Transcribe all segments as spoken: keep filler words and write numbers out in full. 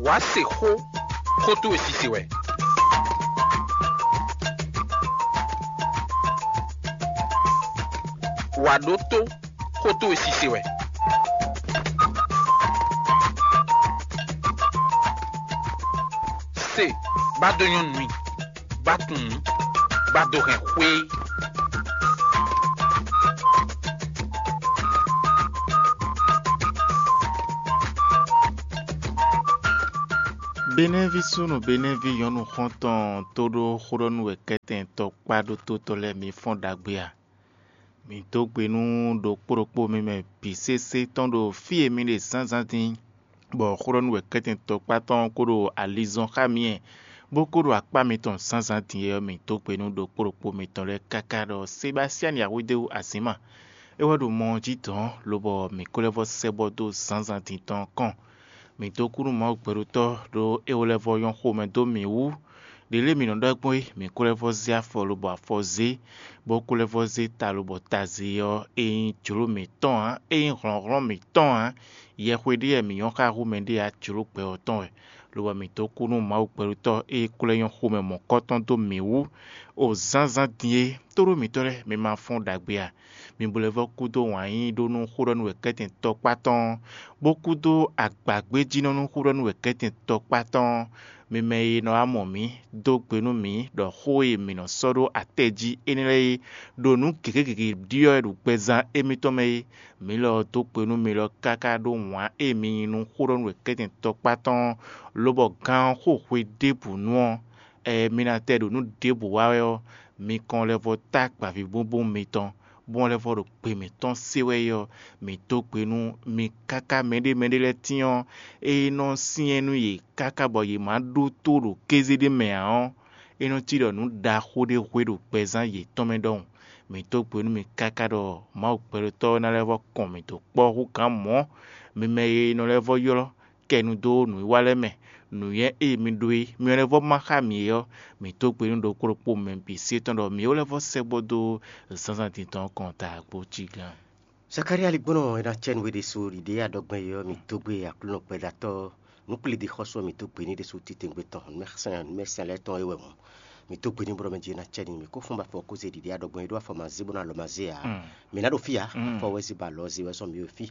Wǎ se xó, xó towe sise wɛ. Wǎ ɖótó, xó towe sise wɛ. Se, bá dó nyɔ́ nú i, bá tunwun, bá dó hɛn xwé. Benɛ́ví súnnu Benɛ́ví nyɔ̌nu xɔ́ntɔn tó ɖó xó ɖɔ nú wɛ kɛ́tɛn tɔkpá ɖótó tɔn lɛ́ɛ mi fɔ́n ɖagbe a? Mǐ dó gbe nú ɖokpó ɖokpó mi mɛ bǐ sésé tɔn ɖo fí e mi ɖe zǎnzǎn din, bɔ xó ɖɔ nú wɛ kɛ́tɛn tɔkpá tɔn ko ɖo alizɔn xá mi wɛ, bó ko ɖo akpá mitɔn zǎnzǎn din é ɔ́, mǐ dó gbe nú ɖokpó ɖokpó mitɔn lɛ́ɛ káká ɖɔ Sebasiyani Awedéwu Azǐma é wɛ ɖo mɔ ɔ́ jí dɔ̌n, lobɔ mǐ ko lɛ́ vɔ́ sɛ́ bɔ dó zǎnzǎn din tɔn ɔ́ kɔn. Mǐ dó kú nú Mawu gbɛɖotɔ́ ɖó é wɛ lɛ́ vɔ́ nyɔ́ xomɛ dó mǐ wú. Ɖě lě mǐ nɔ ɖɔ gbɔn é, mǐ ko lɛ́ vɔ́ zé afɔ lobɔ afɔ zé, bó ko lɛ́ vɔ́ zé ta lobɔ ta zé ɔ́, é nyí jlǒ mǐtɔn ǎ, é nyí hlɔ̌nhlɔ́n mǐtɔn ǎ. Yɛhwe ɖé wɛ mǐ nyɔ́ xá hú mɛɖé ǎ, jlǒ gbɛ ɔ́ tɔn wɛ. Lobɔ mǐ dó kú nú Mawu gbɛɖotɔ́ e é ko lɛ́ nyɔ́ xomɛ mɔ̌kɔ́tɔn dó mǐ wú o zǎnzǎn din é. Tóɖó mǐtɔn lɛ́ɛ, mi ma fɔ́n ɖagbe a? Mi bo lɛ́ vɔ́ kú dó wǎn yíyí ɖó nú xó ɖɔ nú wɛ̌kɛ́tɛn tɔkpá tɔn ɔ́, bó kú dó agbǎgbéjínɔ nú xó ɖɔ nú wɛ̌kɛ́tɛn tɔkpá tɔn ɔ́. Mi mɛ e nɔ wá mɔ mǐ, dó gbe nú mǐ ɖɔ xó e mǐ nɔ sɔ́ ɖó atɛ jí énɛ́ lɛ́ɛ é, ɖo nǔ gěgé gěgé ɖiɖɔ wɛ ɖo gbɛzán émítɔn mɛ é. Mǐ lɔ ɔ́ dó gbe nú mi lɔ káká ɖó wǎn e mi yí nú xó ɖɔ nú wɛ̌kɛ́tɛn tɔkpá tɔn ɔ́, lobɔ gán ɔ́ xo hwe ɖěbǔ nu ɔ́, ɛ mi ná tɛ ɖo nǔ ɖěbǔ wa wɛ ɔ́, mi kɔn lɛ́ vɔ́ tá gbǎvíbúbú mitɔn, bó lɛ́ vɔ́ ɖo gbe mǐtɔn se wɛ é ɔ́, mǐ dó gbe nú mi káká mɛɖé mɛɖé lɛ́ɛ tíin ɔ́, é nɔ syɛ́n nú yě káká bɔ yě má ɖótó ɖo kéze ɖé mɛ ǎ ɔ́, é nɔ cí ɖɔ nǔ ɖaxó ɖé hwe ɖo gbɛzán yětɔn mɛ ɖɔhun. Mǐ dó gbe nú mi káká ɖɔ Mawu gbɛɖotɔ́ ɔ́ ná lɛ́ vɔ́ kɔn mǐ dó kpɔ́ hú gǎn mɔ̌. Mi mɛ e nɔ lɛ́ vɔ́ ylɔ́ kɛ nu dó nǔwiwa lɛ́ɛ mɛ, nǔnywɛ́ e mi ɖó é, mi lɛ́ vɔ́ má xá mǐ é ɔ́, mǐ dó gbe nú ɖokpó ɖokpó mɛ bǐ se tɔn ɖɔ mǐ ó lɛ́ vɔ́ sɛkpɔ́ dó zǎnzǎn din tɔn ɔ́ kɔn ta kpó cí gán. Zakalía ligbɔ́nɔ e ná cɛ nú we ɖésú ɖiɖe e a ɖɔ gbɔn é ɔ́, mǐ dó gbe Aklúnɔ gbɛɖatɔ́ nǔkplíɖixɔ́sú ɔ́, mǐ dó gbe n'i ɖésú titewungbe tɔn nǔmɛsɛn nǔmɛsɛn lɛ́ɛ tɔn é wɛ hǔn. Mǐ dó gbe n'i bó ɖɔ mɛ jí é ná cɛ n'i. Mǐ kó fɔ́n bɔ afɔ kó zé ɖiɖe a ɖɔ gbɔn é ɖó afɔ ma zé bó ná lɔ ma zé ǎ. Mǐ ná ɖo fí ǎ, afɔ wɛ zé bɔ alɔ zé wɛ sɔ́ mǐ ɖo fí.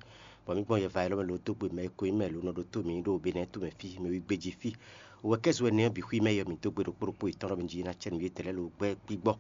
Bɔ mǐ gbɔn yɛ va élɔ́ mɛ lo dó gbe mɛ e ko nyí mɛ lo nɔ ɖótó mǐ ɖo Benɛ́ to mɛ fí, mɛ wí gbéjí fí. Wɛ kɛ́ zo ɛnɛ ɔ́ bǐ xwí mɛ yɔ mǐ dó gbe ɖokpó ɖokpó yětɔn ɖɔ mɛ jí é ná cɛ nǔ yětɛn lɛ́ɛ lo gbɛ́ gbígbɔ.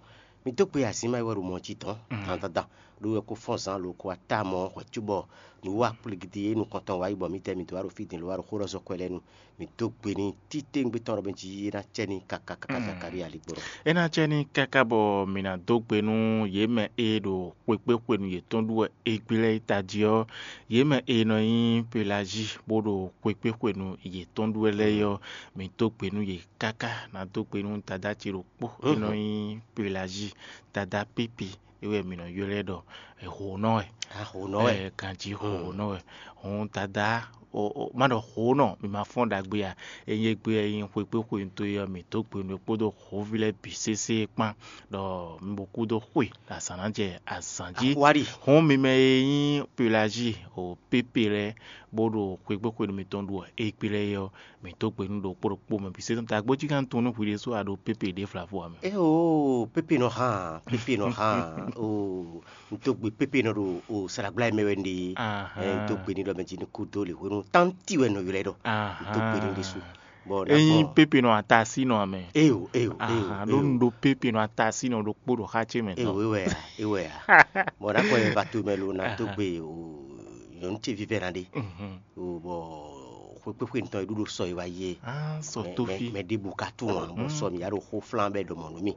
Mǐ dó gbe azǐn ma e wɛ ɖo mɔ̌ jí dɔ̌n dandandan, ɖó wɛ kó fɔ́n zǎn lo ko wá ta mɔ hwɛ̌ cóbɔ nǔ wa kpligidi e nukɔn tɔn wá yi bɔ mǐdɛɛ mǐ dó wá ɖo fí din lo wá ɖo xó ɖɔ zɔ́ kwɛ lɛ́ɛ nu. Mǐ dó gbe n'i títewungbe tɔn ɖɔ mɛ jí é ná cɛ n'i káká káká Zakalía ligbɔ́. É ná cɛ n'i káká bɔ mǐ ná dó gbe nú yě mɛ e ɖo xwekpéxwenu yětɔn ɖu wɛ égbé lɛ́ɛ é tají ɔ́, yě mɛ e nɔ nyí Pelají bó ɖo xwekpéxwenu yětɔn ɖu wɛ lɛ́ɛ é ɔ́, mǐ dó gbe nú yě káká. Ná dó gbe nú dadá ce ɖokpó e nɔ nyí Pelají, dadá Pípi, é wɛ mǐ nɔ ylɔ́ ɛ ɖɔ hǒnɔ wɛ. Hǒnɔ wɛ. Ɛ, ganjí hǒnɔ wɛ. Hǔn dadá, má ɖɔ hǒnɔ, mi ma fɔ́n ɖagbe a? Ényí égbé ɔ́ nyí xwekpéxwenu towe ɔ́, mǐ dó gbe nú we kpódó hǒví lɛ́ɛ bǐ sésé kpán, ɖɔ mi bo kú dó xwe ɖo azǎn ná jɛ azǎn jí. Hǔn mi mɛ e nyí Pelají o Pépé lɛ́ɛ, bó ɖo xwekpéxwenu mitɔn ɖu égbé lɛ́ɛ é ɔ́, mǐ dó gbe nú ɖokpó ɖokpó mɛ bǐ sésé. Dǎgbó jí gán tunwun nú hwi ɖésú a ɖo Pépé ɖě vlavo ǎ mɛ. Éeǒ, Pépé nɔ hán, Pépé nɔ hán. Oo, un dó gbe Pépé nɔ ɖo o slágbla e mɛ wɛ un ɖe é. Ɛ, un dó gbe n'i ɖɔ mɛ jí ní kú dó lě hwenu tánti wɛ nɔ ylɔ́ ɛ ɖɔ. Un dó gbe n'i ɖésú. Bɔ ényí Pépé nɔ atasí nɔ amɛ. Éeǒ, éeǒ, éeǒ. Ɖó un ɖo Pépé nɔ atasí nɔ ɖokpó ɖo xá ce mɛ tɔn. Éeǒ, é wɛ a, é wɛ a. Bɔ ɖakɔ e va to mɛ lo ná dó gbe o nyɔ̌nu ce vívɛ́ ná ɖe. Bɔ xwekpéxwe tɔn e ɖu ɖo sɔ e wá yi é. Sɔ tófí. Mɛ ɖěbǔ ka tunwun ǎ, bɔ sɔ mǐ ya ɖo xó flán bɔ é ɖɔ mɔ̌ nú mì.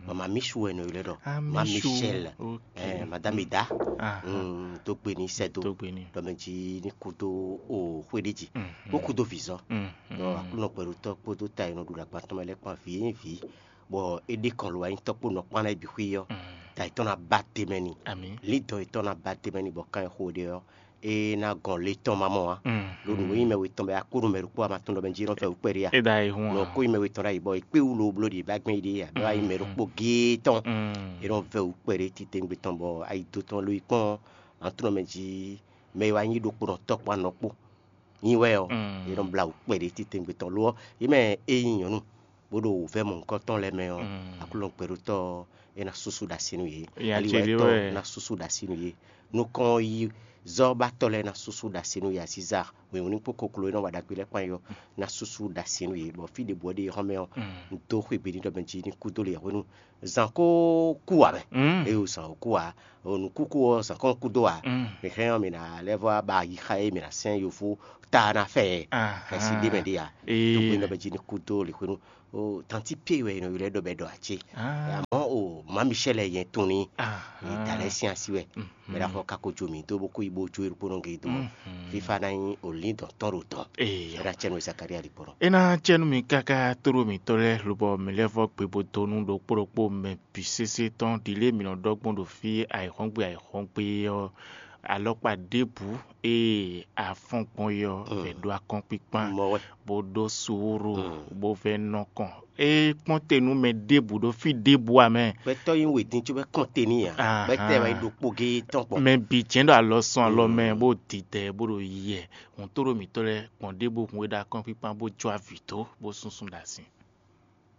Mama Michou wɛ nɔ ylɔ́ ɖɔ. Ma Michou. Michel. Madame Ida. Tó gbe ní sɛ́ dó. Ɖɔ mɛ jí ní kú dó o xwé ɖé jí. Bó kú dó vǐzɔ. Ɖɔ Aklúnɔ gbɛɖotɔ́ kpódó ta e nɔ ɖu ɖo agban tɔn mɛ lɛ́ɛ kpán vǐ e nyí vǐ, bɔ é ɖe kɔn lo anyitɔ́ kpó nɔ kpán ná é bǐ xwí ɔ́, ta yětɔn ná ba te mɛ n'i. Lǐndɔ̌n yětɔn ná ba te mɛ n'i, bɔ kan e xo ɖe ɔ́, é ná gɔn le tɔn ma mɔ ǎ. Ɖo nǔ e nyí mɛ wetɔn bɔ é wá kú nú mɛ ɖokpó a ma tunwun ɖɔ mɛ jí é nɔ vɛ́ wú kpɛɖé a? É ɖo ayihún ǎ. Nɔ kó nyí mɛ wetɔn ɖ'ayǐ bɔ è kpé wú lo bló ɖi è bá gbɛn yi ɖe ǎ, bɔ é wá nyí mɛ ɖokpó géé tɔn. É nɔ vɛ́ wú kpɛɖé titewungbe tɔn bɔ ayi do tɔn lo yi kpɔ́n ǎ tunwun ɖɔ mɛ jí mɛ e wá nyí ɖokpónɔ tɔ́ kpó anɔ kpó. Nyi wɛ ɔ́, yě nɔ blá wǔ kpɛɖé titewungbe tɔn lo ɔ́, yě mɛ e nyí nyɔ̌nu bó ɖo wǔvɛ́ mɔ̌hunkɔtɔn lɛ́ɛ mɛ ɔ́, Aklúnɔ gbɛɖótɔ́ ɔ́, é ná súsú ɖo así nú yě. Ali wa yětɔn ná súsú ɖo así nú yě. Nukɔn yi zɔ́ ba tɔ́ lɛ́ɛ ná súsú ɖo así nú yě. Asíza wěwún ní kpó koklo e nɔ wa ɖagbe lɛ́ɛ kpán yi ɔ́ ná súsú ɖo así nú yě, bɔ fí ɖěbǔ ɔ́ ɖe xɔ́mɛ ɔ́, un dó xwé gbe ní ɖɔ mɛ jí ní kú dó le hwenu. Zǎn ko kú ǎ mɛ. Eye zǎn ko kú ǎ. Nǔkúkú ɔ́, zǎn kɔn kú dó ǎ. Mi hɛn ɔ́, mi ná lɛ́ vɔ ba yi xa e mi ná sɛn yovo ta ná fɛ ɛ. Ɛsi ɖé mɛ ɖé ǎ. Tó gbé nɔ bɛ jí ní kú dó le hwenu. Tanti pie wɛ nɔ ylɔ́ ɖɔ bɛ ɖɔ acé. Àmọ́ o má Michel yẹn tún ní. Ìdálẹ́ sín así wɛ. Mɛ ɖaxɔ kako jo mǐ dó bó kó yi bó jó erukpó nɔ gé dó. Fífa ná nyí olín dɔn tɔn ɖo tɔn. Eye. Ɛ ná cɛ nú Zakaria lǐkpɔ́ nɔ. É ná cɛ nú mi káká tóɖó mǐtɔn lɛ́ɛ lobɔ mǐ lɛ́ vɔ gbe bó dó nú ɖokpó ɖokpó mɛ bǐ sésé tɔn ɖi lě mǐ nɔ ɖɔ gbɔn ɖo fí ayǐhɔ́ngbe ayǐhɔ́ngbe ɔ́, alɔkpa ɖěbǔ e a fɔ́n gbɔn é ɔ́, vɛ ɖó akɔ́nkpíkpán, bó ɖó suúru, bó vɛ́ nɔ kɔn. É kpɔ́n te nú mɛ ɖěbǔ ɖo fí ɖěbǔ ǎ mɛ. Gbɛtɔ́ nyí wědín cóbɔ kɔn te n'i ǎ. Gbɛtɔ́ wɛ nyí ɖokpó géé tɔn kpɔn. Mɛ bǐ jɛ́n ɖo alɔ sɔn alɔ mɛ, bó didɛ, bó ɖo yiyɛ. Hǔn tóɖó mǐtɔn lɛ́ɛ gbɔn ɖěbǔ hun e ɖo akɔ́nkpíkpán bó jó avǐ dó, bó súnsún ɖo asi.